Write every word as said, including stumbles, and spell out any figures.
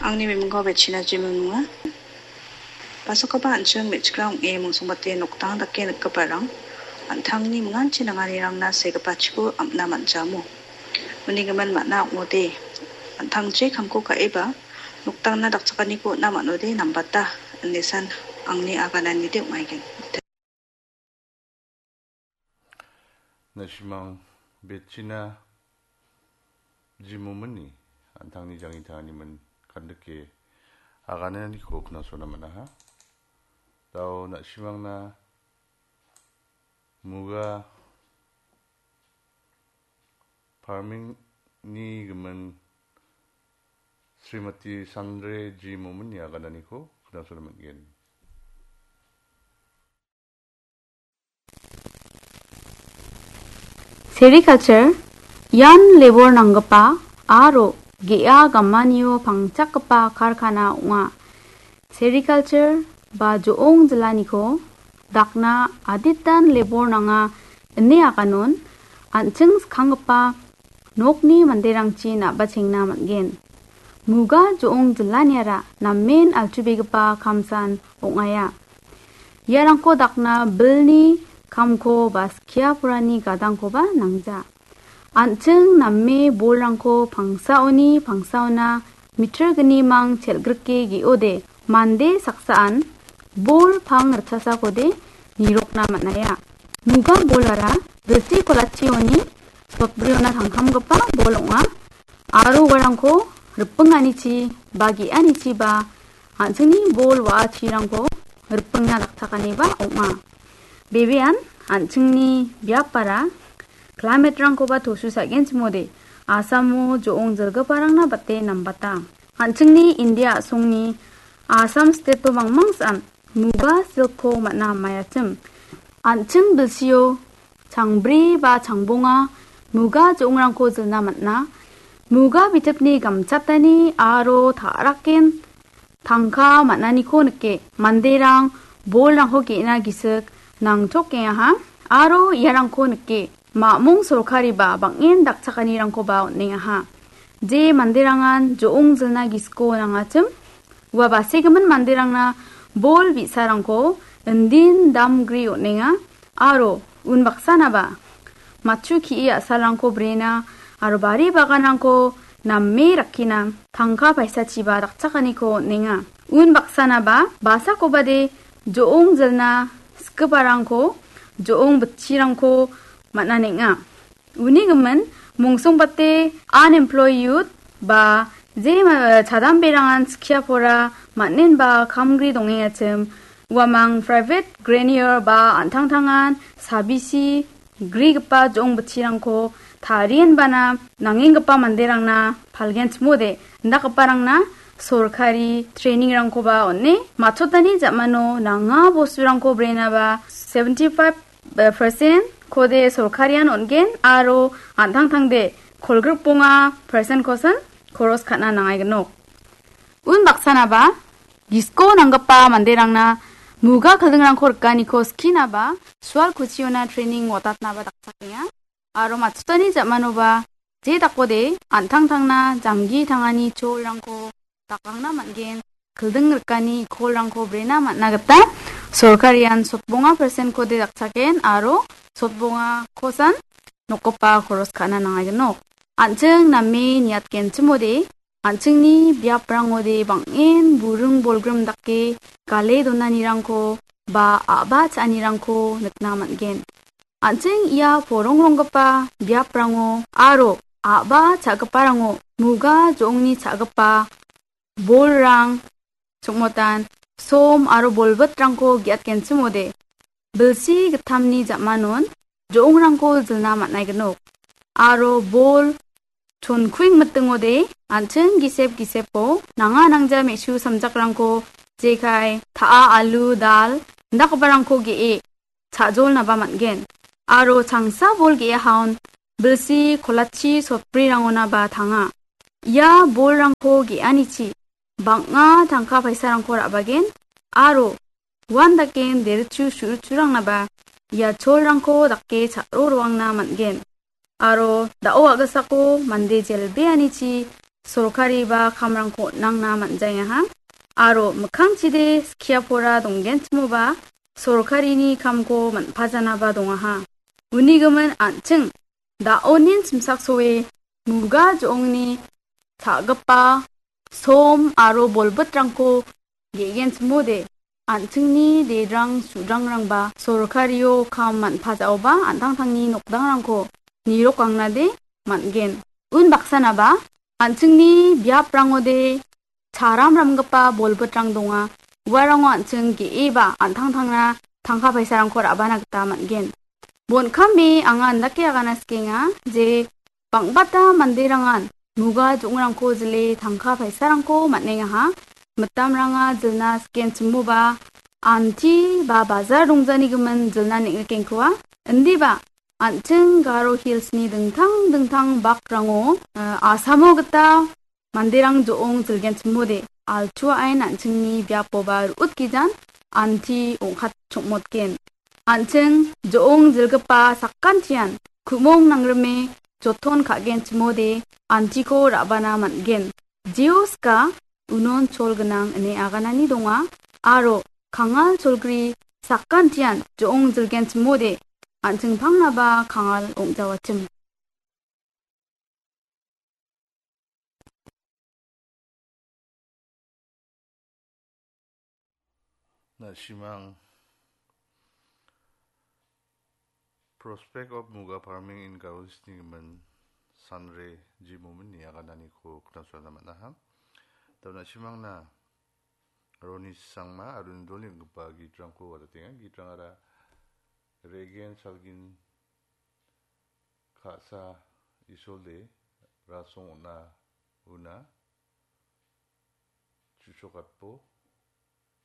Angni mimingko Betchina Jimim ong·a. Pasakoba an·ching me·chikrang ong·e mungsongbate nokdang dake nikgiparang an·tangni minganchi nanganirangna segipachiko am·na man·jamo. Uni gimin man·a ong·ode, an·tangchi kamko ka·eba nokdangna dakchakaniko on·a man·ode nambata, ine san angni agananide ong·aigen. Na·simang Betchina Jimimni an·tangni jangni tangani min kandike agananiko knasona man·aha. Dao na·simangna muga farming-ni gimin Srimati Sandre Jimimni agananiko knasona man·gen. Sericulture ian lebor nanggipa aro ge·a gamanio pangchakgipa karkana ong·a. Sericulture ba jo·ong jilaniko dakna aditan lebor nanga ine aganon an·ching skanggipa nokni manderangchi na·bachengna man·gen. Muga jo·ong jilaniara namen altubegipa kamsan ong·aia. Iarangko dakna bilni kamko ba skia porani gadangkoba nangja. An·ching name bolrangko pangsaoni pangsaona mitirgnimang chelgrike ge·ode mande saksaan bol pang ritchasakode nirokna man·aia. Muga bolara bilsi kolachioni sotbriona tangkamgipa bol ong·a. Aro uarangko ripinganichi ba ge·anichiba an·chingni bol wa·achirangko ripingna dakchakaniba ong·a. Bebean an·chingni biapara climate-rangkoba tosu sa·genchimode Asamo jo·ong jilgiparangna bate nambata. An·chingni India a·songni Assam state-o mangmangsan muga silko man·a amaiachim. An·ching bilsio changbri ba changbonga muga jo·ongrangko jilna man·a. Muga bitipni gamchatani aro ta·raken tangka man·aniko nike manderang bolrangko ge·na gisik nangchokengaha aro iarangko nike ma·mong sorkariba bang·en dakchakanirangkoba on·engaha. Je manderangan jo·ong jilna gisiko nangachim, ua basegimin manderangna bol bi·sarangko indin damgri on·enga aro unbaksanaba matchu ki·e a·salrangko brena aro bari baganrangko name rakkina tangka paisachiba dakchakaniko on·enga. Unbaksanaba basakobade jo·ong jilna skiparangko, jo·ong bitchirangko man·anenga. Uni gimin, mungsongbate unemployed youth ba je ma-, chadamberangan skia pora man·enba kamgri dongengachim, uamang private grenier ba an·tangtangan sabisi grigipa jo·ong bitchirangko tarienbana nangenggipa manderangna palgenchimode, indakgiparangna sorkari training-rangkoba on·e, matchotani ja·mano nanga bosturangko brenaba seventy five percent-kode sorkarian on·gen aro an·tangtangde kolgrikbonga percent-kosan koros ka·na nangaignok. Unbaksanaba gisiko nanggipa manderangna muga kildingrangko rikaniko skinaba sual kuchiona training watatnaba dakchakenga. Aro matchotani ja·manoba je dakode an·tangtangna janggi tangani cholrangko dakangna man·gen, kilding rikani ikolrangko brena man·a gita sorkarian sotbonga percent-kode dakchaken aro sotbonga kosan nokgipa koros ka·na nangaignok. An·ching name niatgenchimode, an·chingni biaprangode bang·en buring bolgrim dake gale donanirangko ba a·ba cha·anirangko nikna man·gen. An·ching ia porongronggipa biaprango aro a·ba cha·giparango muga jo·ongni cha·gipa bolrang, chongmotan, som aro bolbitrangko ge·atgenchimode, bilsi gittamni ja·manon jo·ongrangko jilna man·aignok. Aro bol chonkuing mitingode an·ching gisep gisepo nanga nangja me·su samjakrangko jekai, ta·a, alu, dal, indakgiparangko ge·e cha·jolnaba man·gen. Aro changsa bol ge·ahaon bilsi kolachi sotbrirangonaba tanga. Ia bolrangko ge·anichi bang·a tangka paisarangko ra·bagen aro uan daken derichu suruchurangnaba ia cholrangko dake cha·roroangna man·gen. Aro da·o a·gisako mande jelbeanichi sorkariba kamrangko on·angna man·jaengaha. Aro mikkangchide skia pora donggenchimoba sorkarini kamko man·pajanaba dongaha. Unigimin an·ching da·onin chimsaksoe muga jo·ongni sa·gipa som aro bolbitrangko ge·genchimode, an·chingni dedrang sudrang-rangba sorkario kam man·pajaoba an·tangtangni nokdangrangko nirokangnade man·gen. Unbaksanaba an·chingni biaprangode charam ramgipa bolbitrang donga. Uarango an·ching ge·eba an·tangtangna tangka paisarangko ra·bana gita man·gen. Bon·kame anga andake agana sikenga je bang·bata manderangan muga jo·ongrangko jile tangka paisarangko man·engaha. Mitamranga jilna sikenchimoba anti ba bajar dongjanigimin jilna neng·rikengkoa. Indiba an·ching Garo Hillsni dingtang dingtang bakrango, eh, asamo gita manderang jo·ong jilgenchimode, altuain an·chingni biapoba ru·utgijan anti ong·katchongmotgen. An·ching jo·ong jilgipa sakantian ku·mong nangrime joton ka·genchimode antiko ra·bana man·gen. Jeoska unon chol gnang ine aganani donga, aro kangal cholgri sakantian jo·ong jilgenchimode an·ching pangnaba kangal ong·jawachim. Na·simang Prospect of Muga Farming in Garo Hillsni gimin Sanre G. Mominni agananiko knasona man·aha. Dao na·simangna Roni Sangma aro Indolni ong·gipa gitrangko wadatenga. Gitrangara regen salgin ka·sa isolde rasong on·a una chu·sokatbo